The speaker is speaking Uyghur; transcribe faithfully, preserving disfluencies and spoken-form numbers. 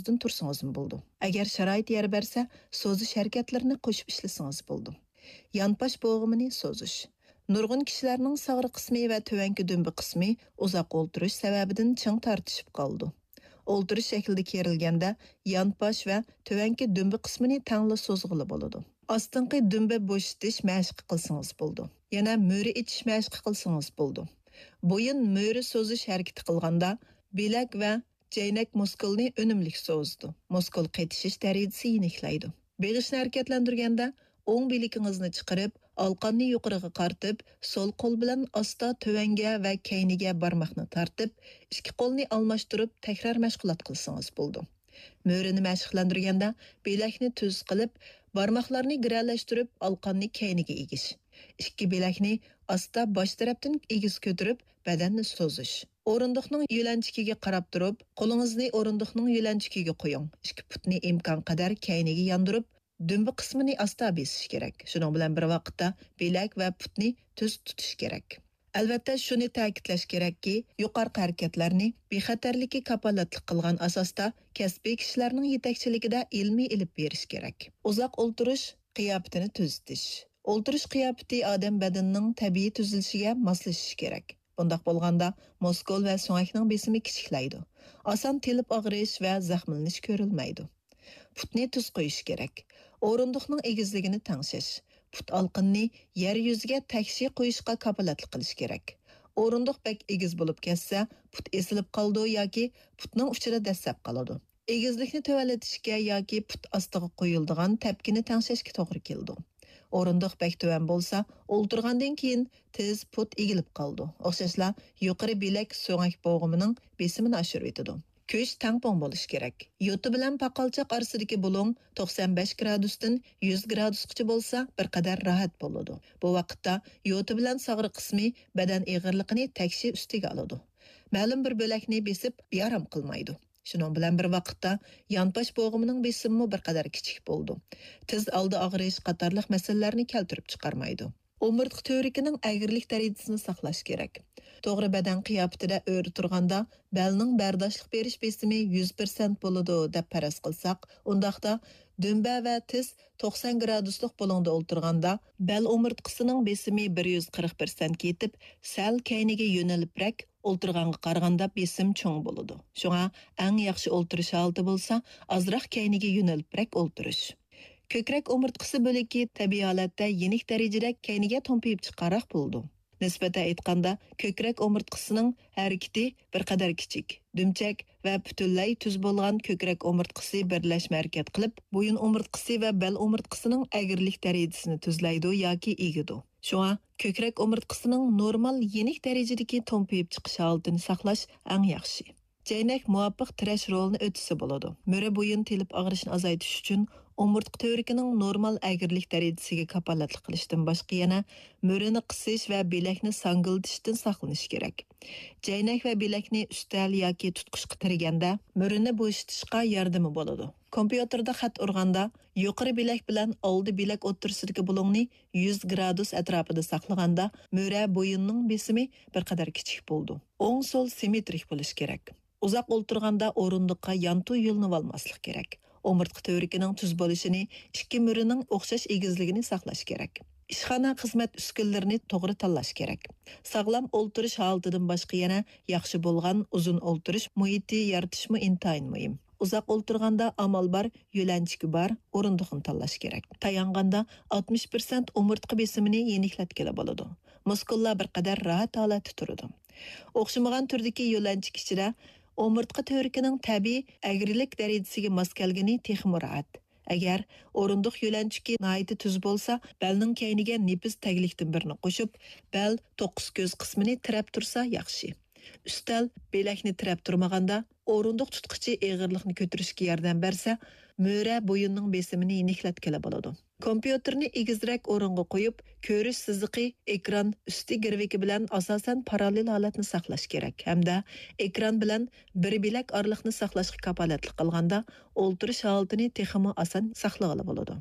ئورۇندىن تۇرسىڭىزمۇ بولىدۇ. ئەگەر شارائىت يار بەرسە، سوزۇش ھەرىكەتلىرىنى قوشۇپ ئىشلىسىڭىز بولىدۇ. يانپاش بوغۇمىنى سوزۇش. نۇرغۇن كىشىلەرنىڭ ساغرا قىسمى ۋە تۆۋەنكى دۈمبە قىسمى ئۇزاق ئولتۇرۇش سەۋەبىدىن چىڭ تارتىشىپ قالىدۇ. ئولتۇرۇش شەكلىدە كېرىلگەندە، يانپاش ۋە تۆۋەنكى دۈمبە قىسمىنى تەڭلا سوزغىلى بولىدۇ. ئاستىنقى دۈمبە بوشىتىش مەشقى قىلسىڭىز بولىدۇ. يەنە مۈرە ئېچىش مەشقى قىلسىڭىز بولىدۇ. بويۇن مۈرە سوزۇش ھەرىكىتى قىلغاندا، بىلەك ۋە جەينەك مۇسكۇلنى ئۈنۈملۈك سوزىدۇ. مۇسكۇل قېتىشىش دەرىجىسى يېنىكلەيدۇ. بېغىشنى ھەرىكەتلەندۈرگەندە، ئوڭ بىلىكىڭىزنى چىقىرىپ، ئالقاننى يۇقىرىغا قارىتىپ، سول قول بىلەن ئاستا تۆۋەنگە ۋە كەينىگە بارماقنى تارتىپ، ئىككى قولنى ئالماشتۇرۇپ، تەكرار مەشغۇلات قىلسىڭىز بولىدۇ. مۈرىنى مەشىقلەندۈرگەندە، بىلەكنى تۈز قىلىپ، بارماقلارنى گىرەلەشتۈرۈپ، ئالقاننى كەينىگە ئېگىش. ئىككى بىلەكنى ئاستا باش تەرەپتىن ئېگىز كۆتۈرۈپ، بەدەننى سوزۇش. ئورۇندۇقنىڭ يۆلەنچۈكىگە قاراپ تۇرۇپ، قولىڭىزنى ئورۇندۇقنىڭ يۆلەنچۈكىگە قويۇڭ. ئىككى پۇتنى ئىمكانقەدەر كەينىگە ياندۇرۇپ، دۈمبە قىسمىنى ئاستا بېسىش كېرەك. شۇنىڭ بىلەن بىر ۋاقىتتا بىلەك ۋە پۇتنى تۈز تۇتۇش كېرەك. ئەلۋەتتە، شۇنى تەكىتلەش كېرەككى، يۇقىرىقى ھەرىكەتلەرنى بىخەتەرلىككە كاپالەتلىك قىلغان ئاساستا كەسپىي كىشىلەرنىڭ يېتەكچىلىكىدە ئىلمىي ئېلىپ بېرىش كېرەك. ئۇزاق ئولتۇرۇش قىياپىتىنى تۈزىتىش. ئولتۇرۇش قىياپىتى ئادەم بەدىنىنىڭ تەبىئىي تۈزۈلۈشىگە ماسلىشىشى كېرەك. بۇنداق بولغاندا، مۇسكۇل ۋە سۆڭەكنىڭ بېسىمى كىچىكلەيدۇ. ئاسان تېلىپ ئاغرىش ۋە زەخىملىنىش كۆرۈلمەيدۇ. پۇتنى تۈز قويۇش كېرەك. ئورۇندۇقنىڭ ئېگىزلىكىنى تەڭشەش. پۇت ئالقىنىنى يەر يۈزىگە تەكشى قويۇشقا كاپالەتلىك قىلىش كېرەك. ئورۇندۇق بەك ئېگىز بولۇپ كەتسە، پۇت ئېسىلىپ قالىدۇ ياكى پۇتنىڭ ئۇچىدا دەسسەپ قالىدۇ. ئېگىزلىكنى تۆۋەنلىتىشكە ياكى پۇت ئاستىغا قويۇلىدىغان تەپكىنى تەڭشەشكە توغرا كېلىدۇ. ئورۇندۇق بەك تۆۋەن بولسا، ئولتۇرغاندىن كېيىن تىز، پۇت ئېگىلىپ قالىدۇ. ئوخشاشلا، يۇقىرى بىلەك سۆڭەك بوغۇمىنىڭ بېسىمىنى ئاشۇرۇۋېتىدۇ. كۈچ تەڭپۇڭ بولۇشى كېرەك. يوتا بىلەن پاقالچاق ئارىسىدىكى بۇلۇڭ توقسان بەش گرادۇستىن يۈز گرادۇسقىچە بولسا، بىر قەدەر راھەت بولىدۇ. بۇ ۋاقىتتا يوتا بىلەن ساغرا قىسمى بەدەن ئېغىرلىقىنى تەكشى ئۈستىگە ئالىدۇ. مەلۇم بىر بۆلەكنى بېسىپ، بىئارام قىلمايدۇ. شۇنىڭ بىلەن بىر ۋاقىتتا، يانپاش بوغۇمىنىڭ بېسىمىمۇ بىر قەدەر كىچىك بولىدۇ. تىز ئالدى ئاغرىش قاتارلىق مەسىلىلەرنى كەلتۈرۈپ چىقارمايدۇ. ئومۇرتقا تۈۋرۈكىنىڭ ئەگرىلىك دەرىجىسىنى ساقلاش كېرەك. توغرا بەدەن قىياپىتىدە ئۆرە تۇرغاندا، بەلنىڭ بەرداشلىق بېرىش بېسىمى يۈز پىرسەنت بولىدۇ، دەپ پەرەز قىلساق، ئۇنداقتا دۈمبە ۋە تىز توقسان گرادۇسلۇق بۇلۇڭدا ئولتۇرغاندا، بەل ئومۇرتقىسىنىڭ بېسىمى بىر يۈز قىرىق پىرسەنتكە يېتىپ، سەل كەينىگە يۆنىلىپرەك ئولتۇرغانغا قارىغاندا بېسىم چوڭ بولىدۇ. شۇڭا ئەڭ ياخشى ئولتۇرۇش ھالىتى بولسا، ئازراق كەينىگە يۆنىلىپرەك ئولتۇرۇش. كۆكرەك ئومۇرتقىسى بۆلىكى تەبىئىي ھالەتتە يېنىك دەرىجىدە كەينىگە تومپىيىپ چىققانراق بولىدۇ. نىسبەتەن ئېيتقاندا، كۆكرەك ئومۇرتقىسىنىڭ ھەرىكىتى بىر قەدەر كىچىك، دۈمچەك ۋە پۈتۈنلەي تۈز بولغان كۆكرەك ئومۇرتقىسى بىرلەشمە ھەرىكەت قىلىپ، بويۇن ئومۇرتقىسى ۋە بەل ئومۇرتقىسىنىڭ ئەگرىلىك دەرىجىسىنى تۈزلەيدۇ ياكى ئېگىدۇ. شۇڭا، كۆكرەك ئومۇرتقىسىنىڭ نورمال يېنىك دەرىجىدىكى تومپىيىپ چىقىش ھالىتىنى ساقلاش ئەڭ ياخشى. جەينەك مۇۋاپىق تىرەش رولىنى ئۆتىسە بولىدۇ. مۈرە بويۇن تېلىپ ئاغرىشىنى ئازايتىش ئۈچۈن ئومۇرتقا تۈۋرۈكىنىڭ نورمال ئەگرىلىك دەرىجىسىگە كاپالەتلىك قىلىشتىن باشقا يەنە مۈرىنى قىسىش ۋە بىلەكنى ساڭگىلىتىشتىن ساقلىنىش كېرەك. جەينەك ۋە بىلەكنى ئۈستەل ياكى تۇتقۇچقا تىرىگەندە، مۈرىنى بوشىتىشقا ياردىمى بولىدۇ. كومپيۇتېردا خەت ئۇرغاندا، يۇقىرى بىلەك بىلەن ئالدى بىلەك ئوتتۇرىسىدىكى بۇلۇڭنى يۈز گرادۇس ئەتراپىدا ساقلىغاندا، مۈرە بويۇننىڭ بېسىمى بىر قەدەر كىچىك بولىدۇ. ئوڭ سول سىممېترىك بولۇشى كېرەك. ئۇزاق ئولتۇرغاندا ئورۇندۇققا يانتۇ يۆلىنىۋالماسلىق كېرەك. ئومۇرتقا تۈۋرۈكىنىڭ تۈز بولۇشىنى، ئىككى مۈرىنىڭ ئوخشاش ئېگىزلىكىنى ساقلاش كېرەك. ئىشخانا خىزمەت ئۈسكۈنىلىرىنى توغرا تاللاش كېرەك. ساغلام ئولتۇرۇش ھالىتىدىن باشقا يەنە ياخشى بولغان ئۇزۇن ئولتۇرۇش مۇھىتى يارىتىشمۇ ئىنتايىن مۇھىم. ئۇزاق ئولتۇرغاندا ئامال بار، يۆلەنچۈكى بار ئورۇندۇقنى تاللاش كېرەك. تايانغاندا ئاتمىش پىرسەنت ئومۇرتقا بېسىمىنى يېنىكلەتكىلى بولىدۇ. مۇسكۇللار بىر قەدەر راھەت ھالەتتە تۇرىدۇ. ئوخشىمىغان تۈردىكى يۆلەنچۈك ئىچىدە ئومۇرتقا تۈۋرۈكىنىڭ تەبىئىي ئەگرىلىك دەرىجىسىگە ماس كەلگىنى تېخىمۇ راھەت. ئەگەر ئورۇندۇق يۆلەنچۈكى ناھايىتى تۈز بولسا، بەلنىڭ كەينىگە نېپىز تەگلىكتىن بىرنى قوشۇپ، بەل توققۇز كۆز قىسمىنى تىرەپ تۇرسا ياخشى. ئۈستەل بىلەكنى تىرەپ تۇرمىغاندا، ئورۇندۇق تۇتقۇچى ئېغىرلىقنى كۆتۈرۈشكە ياردەم بەرسە، مۈرە بويۇننىڭ بېسىمىنى يېنىكلەتكىلى بولىدۇ. كومپيۇتېرنى ئېگىزرەك ئورۇنغا قويۇپ، كۆرۈش سىزىقى ئېكران ئۈستى گىرۋىكى بىلەن ئاساسەن پاراللېل ھالەتنى ساقلاش كېرەك ھەمدە ئېكران بىلەن بىر بىلەك ئارىلىقنى ساقلاشقا كاپالەتلىك قىلغاندا، ئولتۇرۇش ھالىتىنى تېخىمۇ ئاسان ساقلىغىلى بولىدۇ.